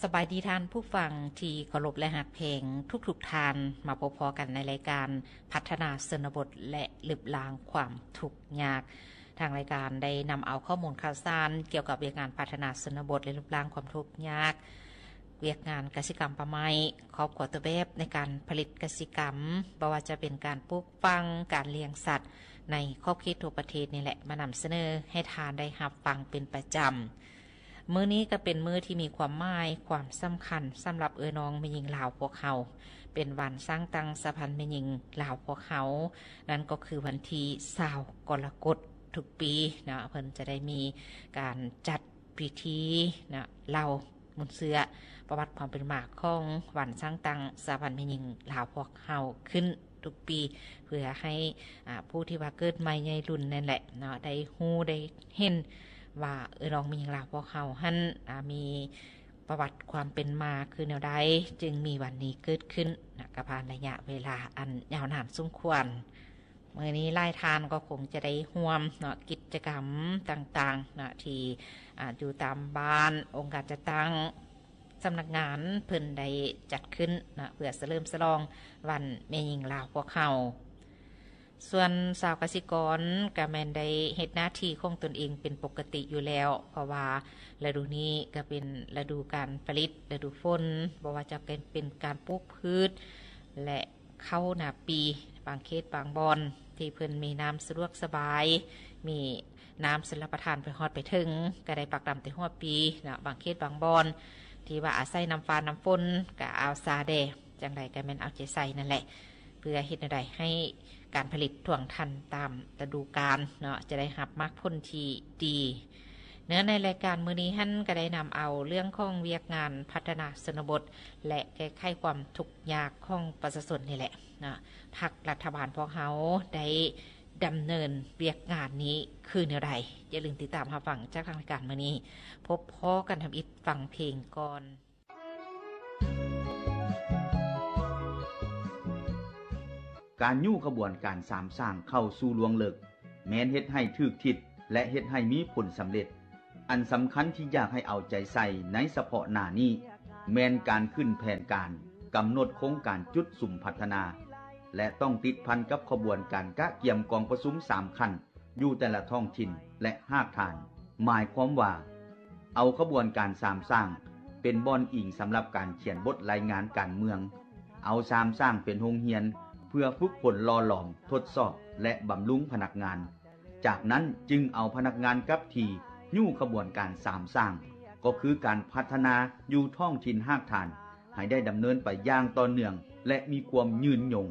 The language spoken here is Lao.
ສະບາຍດີທ່ານຜູ້ຟັງທີ່ເຄົາລົບ ແລະ ຮັກແພງທຸກໆທ່ານ. ມາພົບພໍ້ກັນໃນລາຍການພັດທະນາຊົນນະບົດ ແລະ ລຶບລ້າງຄວາມທຸກຍາກ. ທາງລາຍການໄດ້ນຳເອົາຂໍ້ມູນຂ່າວສານກ່ຽວກັບວຽກງານພັດທະນາຊົນນະບົດ ແລະ ລຶບລ້າງຄວາມທຸກຍາກ, ວຽກງານກະສິກຳປ່າໄມ້, ຄອບຄົວຕົວແບບໃນການຜະລິດກະສິກຳ, ບໍ່ວ່າຈະເປັນການປູກຝັງ, ການລ້ຽງສັດໃນຂອບເຂດທົ່ວປະເທດນີ້ແຫຼະ ມານຳສະເໜີໃຫ້ທ່ານໄດ້ຮັບຟັງເປັນປະຈຳ. ມື້ນີ້ກໍເປັນມື້ທີ່ມີຄວາມໝາຍຄວາມສຳຄັນສຳລັບເອື້ອຍນ້ອງແມ່ຍິງລາວພວກເຮົາ, ເປັນວັນສ້າງຕັ້ງສະຫະພັນແມ່ຍິງລາວພວກເຮົາ, ນັ້ນກໍຄືວັນທີຊາວກໍລະກົດທຸກປີເນາະ. ເພິ່ນຈະໄດ້ມີການຈັດພິທີເນາະ ເລົ່າມູນເຊື້ອປະຫວັດຄວາມເປັນມາຂອງວັນສ້າງຕັ້ງສະຫະພັນແມ່ຍິງລາວພວກເຮົາຂຶ້ນ ທຸກປີ ເພື່ອໃຫ້ ອາ ຜູ້ທີ່ວ່າເກີດໃໝ່ໃຫຍ່ລຸ້ນນັ້ນແຫຼະເນາະ ໄດ້ຮູ້ໄດ້ເຫັນວ່າ ເອີ ນ້ອງແມ່ຍິງລາວພວກເຮົາຫັ້ນ ອາ ມີປະຫວັດຄວາມເປັນມາຄືແນວໃດ ຈຶ່ງມີວັນນີ້ເກີດຂຶ້ນນະ ກະຜ່ານໄລຍະເວລາອັນຍາວນານສົມຄວນ. ມື້ນີ້ຫຼາຍທ່ານກໍຄົງຈະໄດ້ຮ່ວມເນາະ ກິດຈະກຳຕ່າງໆເນາະ ທີ່ ອາ ຢູ່ຕາມບ້ານ ອົງການຈັດຕັ້ງ ສຳນັກງານເພິ່ນໄດ້ຈັດຂຶ້ນນະ ເພື່ອສະເຫຼີມສະຫຼອງວັນແມ່ຍິງລາວພວກເຮົາ. ສ່ວນຊາວກະສິກອນກະແມ່ນໄດ້ເຮັດໜ້າທີ່ຂອງຕົນເອງເປັນປົກກະຕິຢູ່ແລ້ວ, ເພາະວ່າລະດູນີ້ກະເປັນລະດູການຜະລິດ ລະດູຝົນ, ບໍ່ວ່າຈະເປັນ ເປັນການປູກພືດ ແລະ ເຂົ້ານາປີ, ບາງເຂດບາງບ່ອນທີ່ເພິ່ນມີນ້ຳສະດວກສະບາຍ, ມີ ນ້ຳຊົນລະປະທານໄປຮອດໄປເຖິງ ກະໄດ້ປັກດຳແຕ່ຫົວປີເນາະ. ບາງເຂດບາງບ່ອນທີ່ວ່າອາໄສນ້ຳຟ້ານ້ຳຝົນ ກະອາວຊາແດ່, ຈັ່ງໃດກະແມ່ນເອົາໃຈໃສ່ນັ້ນແຫຼະ ເພື່ອເຮັດແນວໃດໃຫ້ການຜະລິດທ່ວງທັນຕາມລະດູການເນາະ ຈະໄດ້ຮັບໝາກຜົນທີ່ດີ. ເນື້ອໃນລາຍການມື້ນີ້ຫັ້ນ ກະໄດ້ນຳເອົາເລື່ອງຂອງວຽກງານພັດທະນາຊົນນະບົດ ແລະ ແກ້ໄຂຄວາມທຸກຍາກຂອງປະຊາຊົນນີ້ແຫຼະເນາະ. ພັກລັດຖະບານພວກເຮົາໄດ້ ດຳເນີນວຽກງານນີ້ຄືແນວໃດ? ຢ່າລືມຕິດຕາມຮັບຟັງຈາກທາງລາຍການມື້ນີ້. ພົບພໍ້ກັນທຳອິດ ຟັງເພງກ່ອນ. ການຍູ້ຂະບວນການສາມສ້າງເຂົ້າສູ່ລວງເລິກ ແມ່ນເຮັດໃຫ້ຖືກທິດ ແລະ ເຮັດໃຫ້ມີຜົນສຳເລັດ. ອັນສຳຄັນທີ່ຢາກໃຫ້ເອົາໃຈໃສ່ໃນສະເພາະໜ້ານີ້ ແມ່ນການຂຶ້ນແຜນການ, ກຳນົດໂຄງການຈຸດສຸມພັດທະນາ ແລະ ຕ້ອງຕິດພັນກັບຂະບວນການກະກຽມກອງປະຊຸມສາມຂັ້ນຢູ່ແຕ່ລະທ້ອງຖິ່ນ ແລະ ຮາກຖານ. ໝາຍຄວາມວ່າ ເອົາຂະບວນການສາມສ້າງເປັນບ່ອນອີງສຳລັບການຂຽນບົດລາຍງານການເມືອງ, ເອົາສາມສ້າງເປັນໂຮງຮຽນເພື່ອຝຶກຝົນຫຼໍ່ຫຼອມ, ທົດສອບ ແລະ ບຳລຸງພະນັກງານ. ຈາກນັ້ນຈຶ່ງເອົາພະນັກງານກັບທີ່ຍູ້ຂະບວນການສາມສ້າງ ກໍຄືການພັດທະນາຢູ່ທ້ອງຖິ່ນຮາກຖານ ໃຫ້ໄດ້ດຳເນີນໄປຢ່າງຕໍ່ເນື່ອງ ແລະ ມີຄວາມຍືນຍົງ.